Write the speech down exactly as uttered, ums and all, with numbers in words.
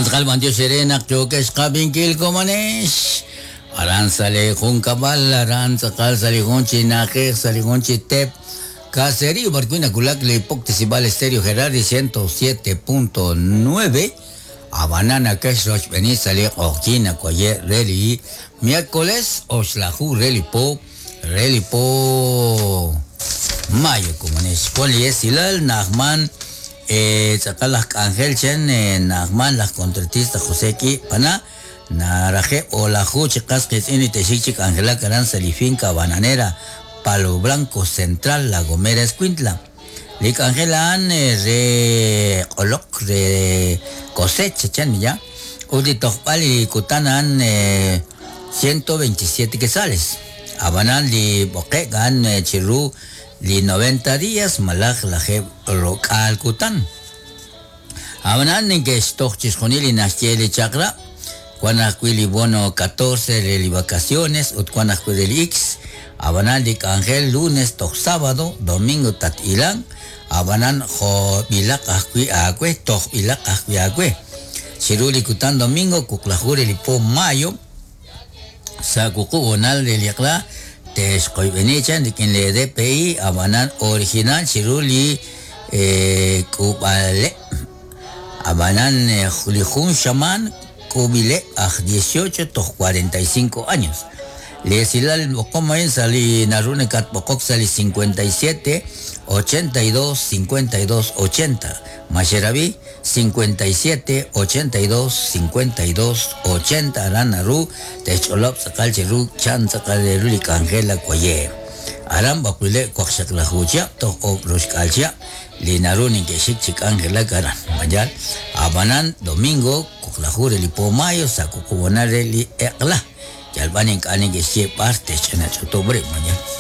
Jokan bantio serenak jokex kabinkil komanex. Aran sale junkabal, aran tzakal sale junchi najex, sale junchi tep. Caserío, Barcuina Kulak, le Poctesibal Estéreo Gerardi ciento siete punto nueve. A Banana Cash Roch Beni sale Ojina Cuayer Reli. Miércoles, Oxlahu Reli Po, Reli Po. Mayo, komanex. Poli Esilal, Nahman. Eh, tzakal Ángel Chen, Nahman, las contratista José Ki, Pana. Naraje Olahu, chicas que es Initeshik, Ángela Caranza, Lifinca, Bananera, Palo Blanco Central, La Gomera, Escuintla. Lik Ángela an re olok re cosecha chan ya. Uli tojpali kutanan ciento veintisiete quetzales. Abanan li boquegan chiru li noventa días malaj la rocal kutan. Abanan que estoch chisjonili naschieli chakra. Cuanacuili bono catorce de vacaciones, utcuanacuili X, abanan dik ángel lunes tok sábado, domingo tat ilan, abanan jo bilak ajui acue, tok bilak ajui acue. Chiruli kutan domingo, kuklajure lipo mayo, sakuku bonal de liakla, texcoibenichan, dikin le D P I, abanan original, chiruli eh, kubale, abanan eh, lijun shaman, Cubile a dieciocho to cuarenta y cinco años. Le silal como en sali narune kat pokok sali cincuenta y siete ochenta y dos cincuenta y dos ochenta. Macherabi cincuenta y siete ochenta y dos cincuenta y dos ochenta aranaru techolop sakal cheru chan sakal ruli kangela koye. Aram bakule kwakshak la hucha to okrushkalcha linarunin que shik angela karan. Mayal abanan domingo kuklajure li pomayo sakukubanare li ekla. Yalbanin kanin que sie parte chena chotobre mañana.